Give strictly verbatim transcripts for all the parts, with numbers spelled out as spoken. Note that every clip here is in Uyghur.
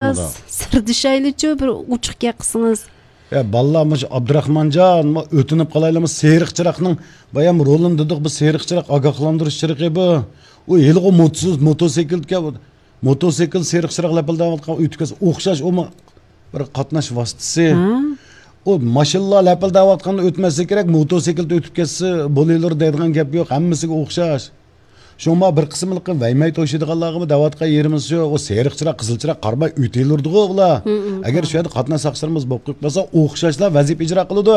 ئۇندا. سىردىشايلىچۇ، بىر ئوچۇق گەپ قىلسىڭىز. يا، بالىلار، مۇشۇ ئابدۇراخمانجان، ما ئۆتۈنۈپ قالايلىمۇ، سېرىق چىراغنىڭ، بايام رولىنى دېدۇق، بۇ سېرىق چىراغ ئاگاھلاندۇرۇش چىرىقى بۇ. ئۇ ھېلىغۇ موتسىز-، موتوسىكلكە، موتوسىكل سېرىق چىراغ لەپىلدەۋاتقان ئۆتۈپ كەتسە ئوخشاش، ئۇمۇ بىر قاتناش ۋاسىتىسى. ھە؟ ئۇ ماشىنىلار لەپىلدەۋاتقاندا ئۆتمەسلىكى كېرەك، موتوسىكلدا ئۆتۈپ كەتسە بولۇۋېرىدۇ دەيدىغان گەپ يوق، ھەممىسىگە ئوخشاش. شۇڭا بىر قىسىملىقى ۋەيمەي توشىدىغانلارغىمۇ دەۋاتقان يېرىمىز شۇ، ئۇ سېرىق چىراغ، قىزىل چىراغ قارىماي ئۆتۈۋېرىدىغۇ ئۇلار. ھىم، ھىم، ئەگەر شۇ يەردە قاتناش ساقچىلىرىمىز بولۇپ قېلىپ قالسا، ئوخشاشلا ۋەزىپە ئىجرا قىلىدۇ.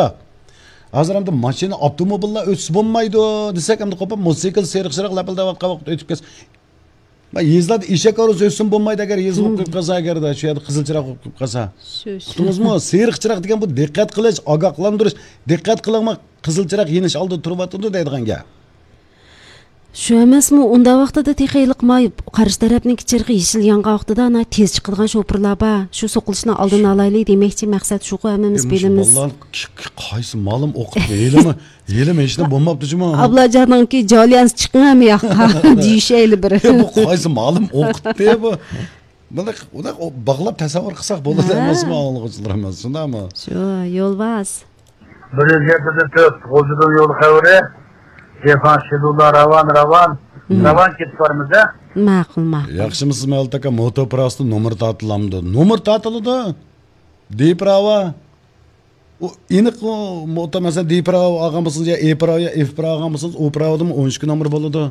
ھازىر ئەمدى ماشىنا، ئاپتوموبىللار ئۆتسە بولمايدۇ دېسەك، ئەمدى قوپۇپ، موتوسىكل سېرىق چىراغ لەپىلدەۋاتقان ۋاقىتتا ئۆتۈپ كەتسە، ما يېزىلاردا ئېشەك ھارۋىسى ئۆتسىمۇ بولمايدۇ، ئەگەر يېزا بولۇپ قېلىپ قالسا، ئەگەردە شۇ يەردە قىزىل چىراغ بولۇپ قېلىپ قالسا. شۇ، شۇ. ئۇقتىڭىزمۇ؟ سېرىق چىراغ دېگەن بۇ دىققەت قىلىش، ئاگاھلاندۇرۇش، دىققەت قىلىڭمۇ، قىزىل چىراغ يېنىش ئالدىدا تۇرۇۋاتىدۇ دەيدىغان گەپ. شۇ ئەمەسمۇ، ئۇنداق ۋاقتىدا تېخى ھېلىقى ما قارشى تەرەپنىڭكى چىرىغى يېشىل يانغان ۋاقتىدا ئانا تېز چىقىدىغان شوپۇرلار بار. شۇ سوقۇلۇشنىڭ ئالدىنى ئالايلى دېمەكچى، مەقسەت شۇغۇ، ھەممىمىز بىلىمىز. بالىلار ك-، ك-، قايسى مالىم ئوقۇتتى؟ ھېلىمۇ، ھېلىمۇ ھېچنېمە بولماپتۇ جۇمۇ. ئابلاجاننىڭكى جالىيانسى، چىقىڭ ھەممە ياققا دېيىشەيلى بىر. يا، بۇ قايسى مالىم ئوقۇتتى بۇ؟ بۇنداق، بۇنداق باغلاپ تەسەۋۋۇر قىلساق بولىدۇ ئەمەسمۇ، ئاڭلىغۇچىلىرىمىز، شۇنداقمۇ؟ شۇ، يولۋاس. بىر يۈز يەتتە تۆت، غۇلجىدىن يول خەۋىرى. جېفان شىدۇلا راۋان، راۋان. مم. راۋان كېتىپ بارىمىز، ھە؟ ماقۇل، ماقۇل. ياخشىمۇسىز، مەۋلۇت ئاكا؟ موتو پىراۋىسىدا نومۇر تارتىلامدۇ؟ نومۇر تارتىلىدۇ. دى پىراۋا. ئۇ ئېنىق، ئۇ موتو، مەسىلەن، دى پىراۋا ئالغان بولسىڭىز، يا ئې پىراۋا، يا ئېف پىراۋا ئالغان بولسىڭىز، ئۇ پىراۋىدىمۇ ئون ئىككى نومۇر بولىدۇ.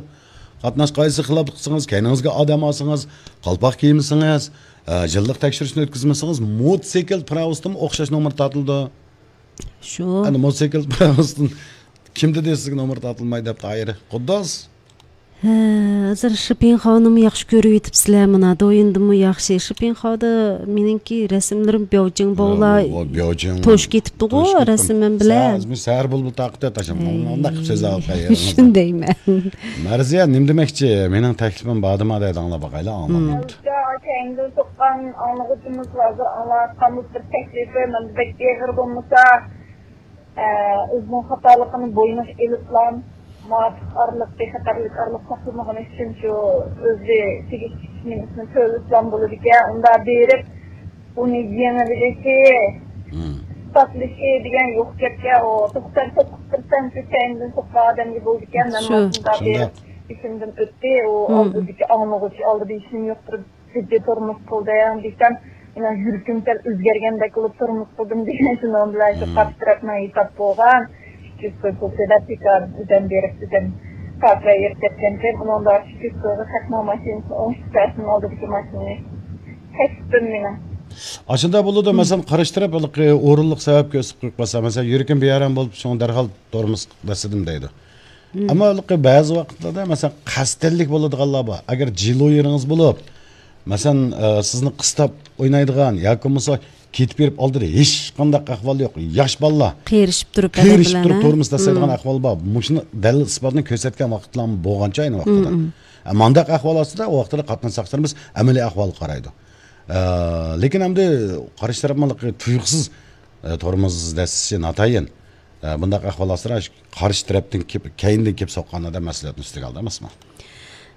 قاتناش قائىدىسىگە خىلاپلىق قىلسىڭىز، كەينىڭىزگە ئادەم ئالسىڭىز، قالپاق كىيمىسىڭىز، ئە، يىللىق تەكشۈرۈشنى ئۆتكۈزمىسىڭىز، موتوسىكل پىراۋىسىدىمۇ ئوخشاش نومۇر تارتىلىدۇ. شۇ. ئەنە موتوسىكل پىراۋىسىدىن كىم دېدى سىزگە نومۇر تارتىلماي دەپ، تاھىر؟ قۇددۇس. ھە، ھازىر شىپىڭخاۋنىمۇ ياخشى كۆرۈۋېتىپسىلەر، مانا، دويىندىمۇ ياخشى. شىپىڭخاۋدا مېنىڭكى رەسىملىرىم بياۋجىڭ باۋلا توشۇپ كېتىپتىغۇ، رەسىمىم بىلەن. سەھەر بۇلبۇل تارقىتىۋەتتى، مانا مۇنداق قىلىپ سۆزلەۋاتقان يېرىڭىزدا. شۇندايمەن. مەرزىيە، نېمە دېمەكچى؟ مېنىڭ تەكلىپىم باردىمۇ دەيدۇ، ئاڭلاپ باقايلى، ئاڭلىماپتۇ. كەينىدىن سوققان ئاڭلىغۇچىمىز ھازىر ئاڭلاۋاتقان بىر تەكلىپى، مەن بەك ئېغىر بولمىسا، ئە، ئۆزىنىڭ خاتالىقىنى بوينىغا ئېلىپلا، مۇۋاپىق ئارىلىق، بىخەتەرلىك ئارىلىق ساقلىمىغىنى ئۈچۈن شۇ ئۆزى تېگىشلىك نېمىسىنى تۆلىسىلا بولىدىكەن. ئۇنداق بېرىپ، ئۇنى يېڭىۋېلىشى، مم، ئىسپاتلىشى دېگەن يوق گەپكەن. ئۇ توقسان توققۇز پىرسەنت كەينىدىن سوققان ئادەمگە بولىدىكەن. مەن شۇ. ماشىنىدا بېرىپ، ئىشىمدىن ئۆتتى. ئۇ، مم، ئالدىدىكى ئاڭلىغۇچى ئالدىدا ھېچنېمە يوقتۇر. جىددىي تۇرمۇش قىلدىم دېسەم، مېنىڭ يۈرىكىم سەل ئۆزگەرگەندەك قىلىپ تۇرمۇش قىلدىم دېگەن، شۇنىڭ بىلەن شۇ، مم، قارشى تەرەپنىڭ ھېساب بولغان ئىككى يۈز كوي پۇل تۆلەپ، بىكار ئۆزەم بېرىپ، ئۆزەم كاپىرە يېرىپ كەتكەنتىم. ئۇنىڭدا ئىككى يۈز كويغا خەقنىڭ ماشىنىسىنى ئوڭشىتىپ بەرسىمۇ، ئالدىدىكى ماشىنىنى كەسىپتىن مېنىڭ. ئاشۇنداق بولىدۇ، مم، مەسىلەن، قارشى تەرەپ ھېلىقى ئورۇنلۇق سەۋەبكە ئۆسۈپ قويۇپ قالسا، مەسىلەن، يۈرىكىم بىئارام بولۇپ، شۇڭا دەرھال تورمۇز بېسىدىم دەيدۇ. مم. ئەمما ھېلىقى بەزى ۋاقىتلاردا، مەسىلەن، قەستەنلىك بولىدىغانلار بار. ئەگەر جىلويېرىڭىز بولۇپ، مەسىلەن، ئە، سىزنى قىستاپ ئوينايدىغان ياكى بولمىسا كېتىپ بېرىپ ئالدىدا ھېچقانداق ئەھۋال يوق، ياش بالىلار، قېرىشىپ تۇرۇپ، قېرىشىپ تۇرۇپ، ھە؟ تورمۇز تاشلايدىغان، مم، ئەھۋال بار. مۇشۇنى دەلىل ئىسپاتنى كۆرسەتكەن ۋاقىتلارمۇ بولغانچە ئاينى ۋاقتىدا. مم، مم. ئە، مانداق ئەھۋال ئاستىدا، ئۇ ۋاقىتتا قاتناش ساقچىلىرىمىز ئەمەلىي ئەھۋالغا قارايدۇ. ئە، لېكىن ئەمدى قارشى تەرەپ مانا تۇيۇقسىز، ئە، تورمۇز دەسسىشى ناتايىن. ئە، بۇنداق ئەھۋال ئاستىدا قارشى تەرەپتىن كېلىپ، كەينىدىن كېلىپ سوققان ئادەم مەسئۇلىيەتنى ئۈستىگە ئالدى ئەمەسمۇ؟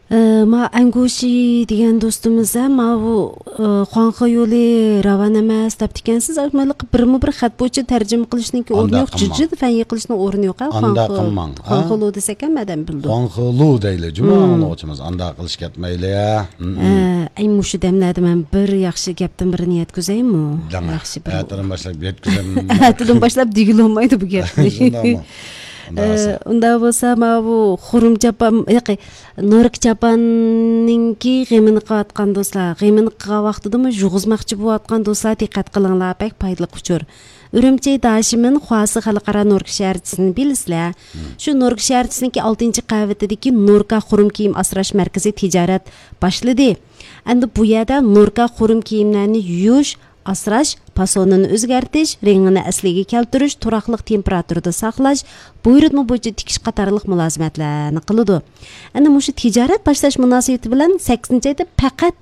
ئە، ما ئەنگۇشى دېگەن دوستىمىز ھەم ماۋۇ، ئە، خۇاڭخې يولى راۋان ئەمەس دەپتىكەنسىز. مانا بىرمۇ بىر خەت بويىچە تەرجىمە قىلىشنىڭكى ئورنى يوق، جىددىي فەن يىقىلىشنىڭ ئورنى يوق، ھە؟ ئانداق قىلماڭ، ھە؟ خۇاڭخېلۇ دېسەك ھەم ئادەم بىلىدۇ. خۇاڭخېلۇ دەيلى، جۇمۇ، مم، ئاڭلىغۇچىمىز. ئانداق قىلىش كەتمەيلى، ھە؟ مم، مم. ئە، ئەي، مۇشۇ دەملەردە مەن بىر ياخشى گەپتىن بىرنى يەتكۈزەيمۇ؟ دەڭە. ياخشى بىر ئەتىدىن باشلاپ يەتكۈزەم. ئەتىدىن باشلاپ دېگىلى بولمايدۇ بۇ گەپنى. شۇنداقمۇ؟ ئۇنداق ئە، بولسا. ئۇنداق بولسا، ماۋۇ خۇرۇم چاپان، ياقى، نوركا چاپاننىڭكى غېمىنى قىلىۋاتقان دوستلار، غېمىنى قىلغان ۋاقتىدىمۇ يۇغۇزماقچى بولۇۋاتقان دوستلار، دىققەت قىلىڭلار، بەك پايدىلىق ئۇچۇر. ئۈرۈمچى داشىمىن خۇاسى خەلقئارا نوركا شەھەرچىسىنى بىلىسىلەر. مم. شۇ نوركا شەھەرچىسىنىڭكى ئالتىنچى قەۋىتىدىكى نوركا خۇرۇم كىيىم ئاسراش مەركىزى تىجارەت باشلىدى. ئەمدى بۇ يەردە نوركا خۇرۇم كىيىملەرنى يۇيۇش، ئاسراش، پاسونىنى ئۆزگەرتىش، رېڭىنى ئەسلىگە كەلتۈرۈش، تۇراقلىق تېمپېراتۇرىدا ساقلاش، بۇيرۇتما بويىچە تىكىش قاتارلىق مۇلازىمەتلەرنى قىلىدۇ. ئەنە مۇشۇ تىجارەت باشلاش مۇناسىۋىتى بىلەن سەككىزىنچى ئايدا پەقەت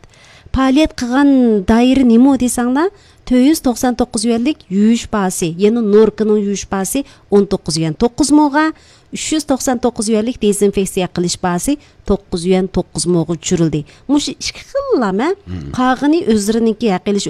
پائالىيەت قىلغان دائىرە نېمە دېسەڭلار، تۆت يۈز توقسان توققۇز يۈەنلىك يۇيۇش باھاسى، يەنى نوركىنىڭ يۇيۇش باھاسى ئون توققۇز يۈەن توققۇز مىڭغا، ئۈچ يۈز توقسان توققۇز يۈەنلىك دېزىنفېكسىيە قىلىش باھاسى توققۇز يۈەن توققۇز موغا چۈشۈرۈلدى. مۇشۇ ئىككى خىل لامە قالغىنى ئۆزلىرىنىڭكى ھەق ئېلىش